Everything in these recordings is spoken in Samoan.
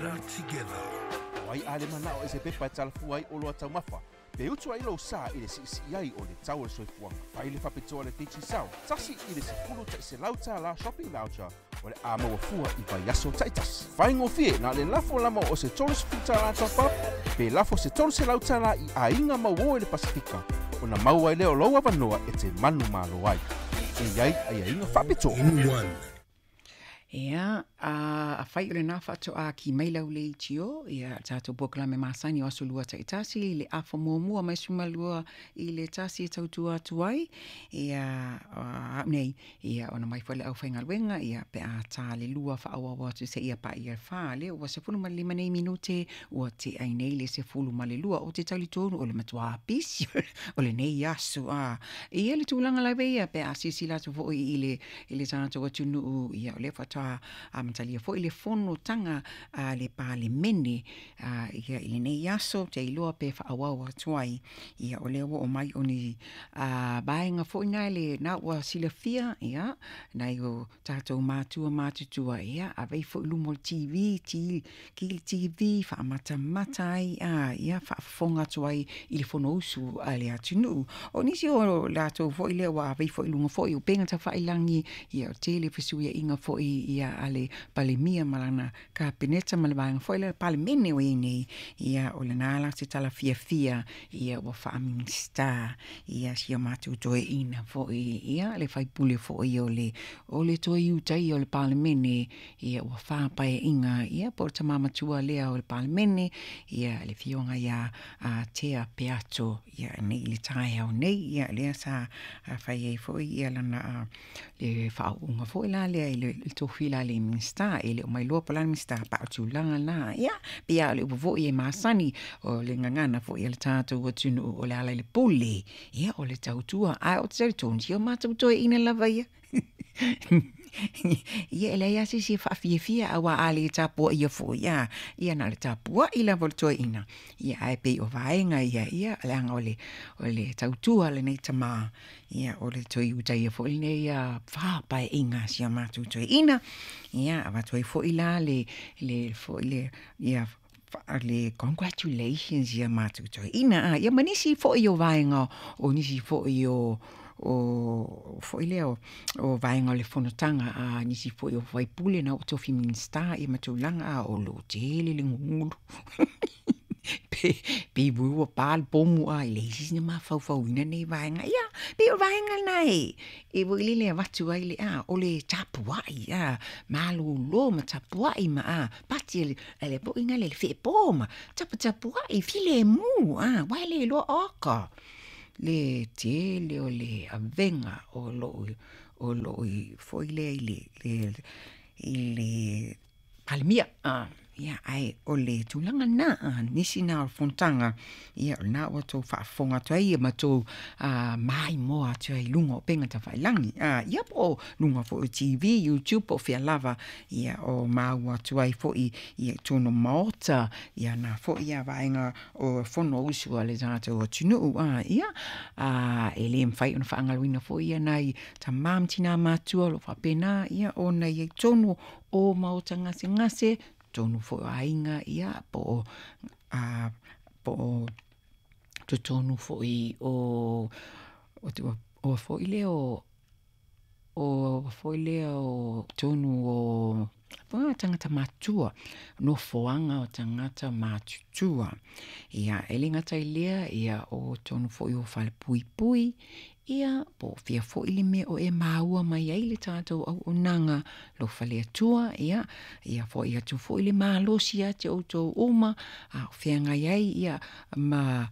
Better together. O ai a le manao i se pepa e talafua ai oloa taumafa, pe utu ai lou sa i le siisii ai o le tau o le soifuaga. Fai le faapitoa a le Digicel, $1 i le $100 shopping voucher o le a maua fua i vaiaso taitasi. Faigofie na o le lafo lama o se $30 top up, pe lafo se $300 i aiga mauō i le Pasifika, ona maua ai lea o lou avanoa e te manumalo ai. E i ai aiaiga faapitoa. In one. Ia, afai o lena faatoa ki mai lau leitio, ia, tatou polokalame masani o Aso Lua taitasi, i le afa muamua mai 12 i le 1 e tautua atu ai, ia, au nei, ia, ona mai foi le aufaigaluega, ia, pe a ta le 2 faaauau atu seia paia le 4, lea ua 15 nei minute, ua tea ai nei le 12. Ou te talitonu o le matua pisi o lenei aso, a. Ia le tulaga lava ia, pe a silasila atu foi i le tatou atunuu, ia, o lea faatoa amatalia foi le fonotaga a le Palemene, ia, i lenei aso, te iloa pe faaauau atu ai. Ia, o lea ua oo mai o ni vaega foi na le na ua silafia, ia, nai o tatou matua matutua, ia, ave ifo i luma o le TV, ki le TV, faamatamata ai, ia, faafofoga atu ai i le fonousu a le atunuu. O nisi o latou foi lea ua ave ifo i luga foi o upega tafailagi, ia, o tele fesuiaiga foi, ia, a le Palemia ma lana Kapeneta ma le vaega foi lea Palemene o i ai nei, ia, o lena la se tala fiafia, ia, ua faa-Minisita, ia, si o matou toeaina foi, ia, le faipule foi o le toe Iutaia o le Palemene, ia, ua 4 paeaiga, ia, po o le tama matua lea o le Palemene, ia, le afioga ia Tea Peato, ia, nei i le taeao nei, ia, lea sa fai ai foi ia lana le faauuga foi la lea i le tofi la le Minisita. E le o mai loa po o le a le Minisita pa o tulaga na, ia, pei lava o le upu foi e masani o le gagana foi a le tatou atunuu, o le ala i le pule, ia, o le tautua. Ae ou te talitonu si o matou toeaina lava ia, ia, e leai lava se isi e faafiafia, aua a le tapuaia foi a, ia, na o le tapuai lava o le toeaina, ia, ae pei o vaega ia, ia, leaga o le tautua lenei tama, ia, o le toe Iutaia foi lenei ia 4 paeaiga si a matou toeaina, ia, avatu ai foi la le foi le, ia, le congratulations ia matou toeaina, a, ia, ma nisi foi o vaega o nisi foi o foi lea o vaega o le fonotaga a nisi foi o faipule na ua tofi Minisita, ia, ma tulaga a o lo o tele le gugulu pe ua pa le pomu a e leai se isi na mafaufauina nei vaega, ia, pei o vaega na e foi lele avatu ai le a o le tapuai a malolo ma tapuai ma a pati ele foi na le feepo ma taputapuai filemu a uae le iloa oka le tele o le avega o loo foi lea i le Palemia a, ia, ae o le tulaga na a nisi na o le fonotaga, ia, o lena ua tou faafofoga atu ai ma tou maimoa atu ai i luga o upega tafailagi a, ia, po o luga foi o TV, YouTube, po o fea lava, ia, o maua atu ai foi, ia, i totonu o maota, ia, na foi ia vaega o fonousu a le tatou atunuu a, ia, a e le mafai ona faagaloina foi ia nai tamā ma tinā matua o lo o faapena, ia, ona i ai totonu o maota gasegase, totonu foi o aiga, ia, po o totonu foi o foi lea o foi lea o totonu o tagata matutua, nofoaga o tagata matutua, ia, e le gata i lea, ia, o totonu foi o falepuipui, ia, po o fea foi le mea o e maua mai ai le tatou auaunaga alofa le Atua, ia, ia foai atu foi le malosi ia te outou uma a o feagai ai, ia, ma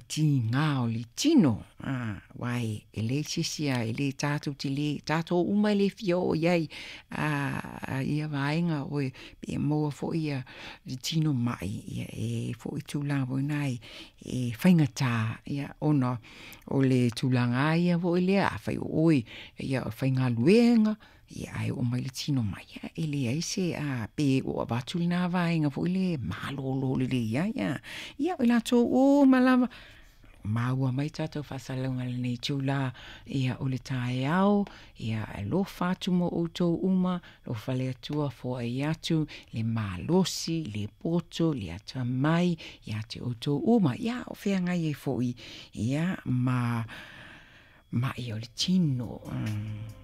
tiga o le tino a, aua e leai se isi a e le tatou te le tatou uma e le fia oo i ai a ia vaega o e pe maua foi ia le tino mai, ia, e foi tulaga foi na e faigata, ia, ona o le tulaga ia foi lea afai o oe, ia, o faigaluega, ia, ae oo mai le tino mai, ia, e leai se a pe ua avatu lena vaega foi le malolo lelei ai a, ia, o i latou uma lava. Maua mai tatou faasalalauga i lenei itulā, ia, o le taeao, ia, alofa atu mo outou uma, alofa le Atua foai atu le malosi, le poto, le atamai ia te outou uma, ia, o feagai ai foi, ia, ma ma'i o le tino.